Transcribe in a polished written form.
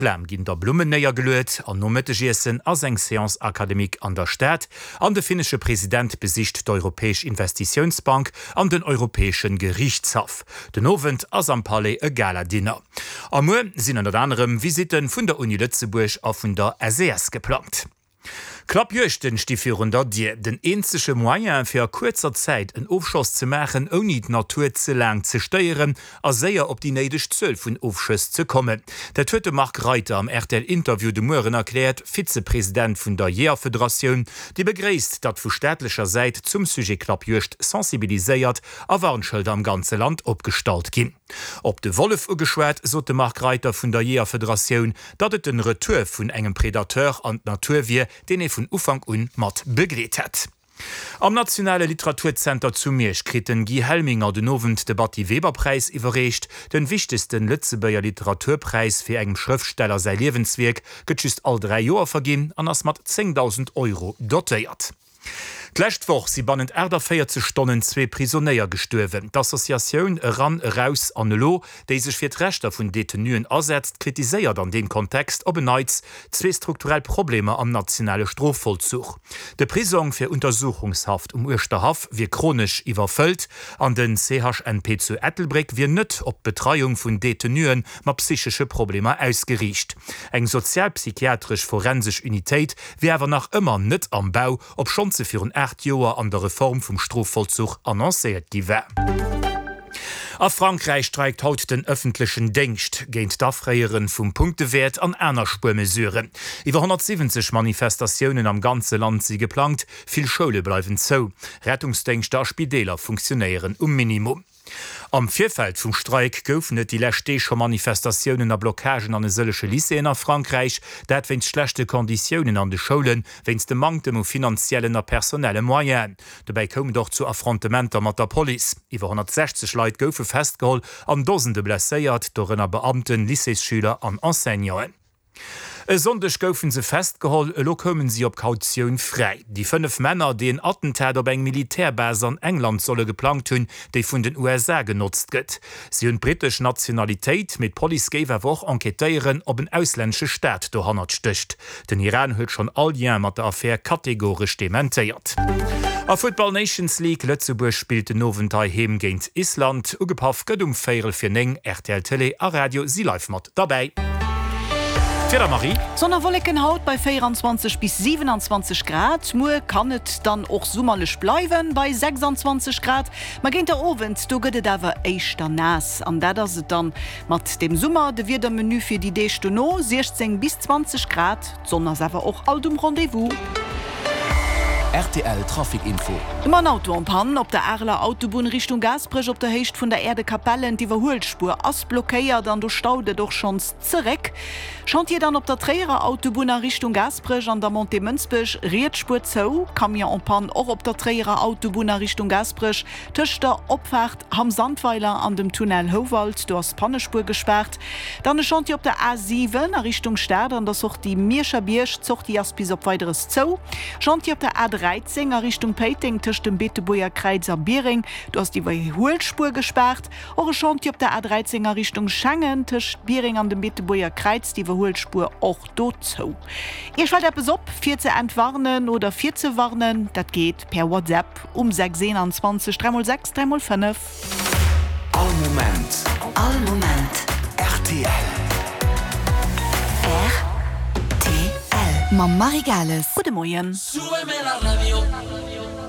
Blam ginn da Blummen néiergeluet an nom Mëttegiessen ass eng Séance académique an der Stad an de finnesche President besicht d'Europäesch Investitiounsbank an den Europäesche Geriichtshaff. Den Owend ass am Palais e Gala-Dinner. A muer sinn ënnert anerem Visitte vun der Uni Lëtzebuerg a vun der SES geplangt. Klappjuegten sti virun der Dier. Den eenzege Moyen fir a kuerzer Zäit en Ofschoss ze maachen, ouni d'Natur ze laang ze stéieren a séier op déi néideg Zuel vun Ofschëss ze kommen. Dat huet de Marc Reiter am RTL-Interview de Mueren erkläert, Vizepresident vun der Jeeërfederatioun, déi begréisst, datt vu staatlecher Säit zum Sujet Klappjuegd sensibiliséiert a Warnschëlder am ganze Land opgestallt ginn. Op de Wollef ugeschwat, sot de Marc Reiter vun der Jeeërfederatioun, datt et den Retour vun engem Predateur an d'Natur wier, deen ee vun Ufank un mat begleet hätt. Am Nationale Literaturzenter zu Miersch kritt den Guy Helminger den Owend de Batty Weber Präis iwwerreecht. Den wichtegsten Lëtzebuerger Literaturpräis fir engem Schrëftsteller säi Liewenswierk gëtt just all 3 Joer verginn an ass mat 10.000 Euro dotéiert. D'lescht Woch si bannent 48 Stonnen zwee Prisonéier gestuerwen. D'Associatioun Eran, Eraus an Elo, déi sech fir d'Rechter vun Detenuen asetzt, kritiséiert an deem Kontext op en Neits zwee strukturell Problemer am nationale Strofvollzuch. De Prisong fir Untersuchungshaft um Uerschterhaff wier chronesch iwwerfëllt an den CHNP zu Ettelbréck wier net op d'Betreiung vun Detenue mat psychesche Problemer ausgeriicht. Eng sozialpsychiatresch forensesch Unitéit wier awer nach ëmmer net am Bau, obschonns se virun 8 Joer an der Reform vum Strofvollzuch annoncéiert gi war. A Frankräich streikt haut den ëffentlechen Déngscht géint d'Afréiere vum Punktewäert an aner Spuermesuren. Iwwer 170 Manifestatiounen am ganze Land si geplangt, vill Schoule bleiwen zou, Rettungsdéngschter a Spideeler funktionéieren um Minimum. Am Virfeld vum Streik goufen et déi lescht Deeg scho Manifestatiounen a Blockagen an e sëllege Lycéeën a Frankräich. Dat wéinst schlechte Konditiounen an de Schoulen, wéinst dem Manktem u finanziellen a personelle Moyenen. Dobäi koum et och zu Affrontementer mat der Police. Iwwer 160 Leit goufe festgeholl an Dosende blesséiert, dorënner Beamten, Lycéesschüler an Enseignanten. E Sonndeg goufen se festgeholl, elo koumen si op Kautioun fräi. Déi 5 Männer, déi en Attentat op eng Militärbase an England solle geplangt hunn, déi vun den USA genotzt gëtt. Si hunn d'brittesch Nationalitéit, mee d'Police géif awer och enquêtéieren, ob en auslännesche Staat dohannert stécht. Den Iran huet schonn all Lien mat der Affär kategoresch dementéiert. A Futtball Nations League, Lëtzebuerg spillt den Owend heiheem géint Island. Ugepaff gëtt um véierel vir 9. Rtl Télé a Radio si live mat derbäi. D'Wieder, Marie. Sonn a Wolleken haut bei 24 bis 27 Grad. Muer kann et dann och summerlech bleiwen bei 26 Grad, ma géint der Owend do gëtt et awer éischter naass. An dat ass et dann mat dem Summer. De Wiedermenu fir déi Deeg dono, 16 bis 20 Grad, d'Sonn ass awer och alt um Rendez-vous. Rtl Trafic Info. Ëm en Auto en panne op der Areler Autobunn Richtung Gaasperech op der Héicht vun der Äerdekapellen. D'Iwwerhuelspuer ass blockéiert an do staut et och schonns zeréck. Chantier dann op der Tréierer Autobunn a Richtung Gaasperech an der Montée Mënsbech, riets Spuer zou. Camion en panne och op der Tréierer Autobunn a Richtung Gaasperech tëscht der Opfaart Hamm Sandweiler an dem Tunnel Houwald, do ass d'Pannespuer gespaart. Dann e Chantier op der A 7 a Richtung Stad an der Sortie Mierscher Bierg, d'Sortie ass bis op Weideres zou. Chantier op der A 13 a Richtung Péiteng tëscht dem Beetebuerger Kräiz a Biereng, do ass d'Iwwerhuelspuer gespaart. Och e Chantier op der A 13 a Richtung Schengen tëscht Biereng an dem Beetebuerger Kräiz, d'Iwwerhuelspuer och do zou. Iech fält eppes op fir ze entwarnen oder virzewarnen? Dat geet per WhatsApp um 6 21 3 x 6 3 x 5. All Moment. All Moment. Rtl. Rtl. Mam Marie Gales. Gudde Moien. Súbeme la radio.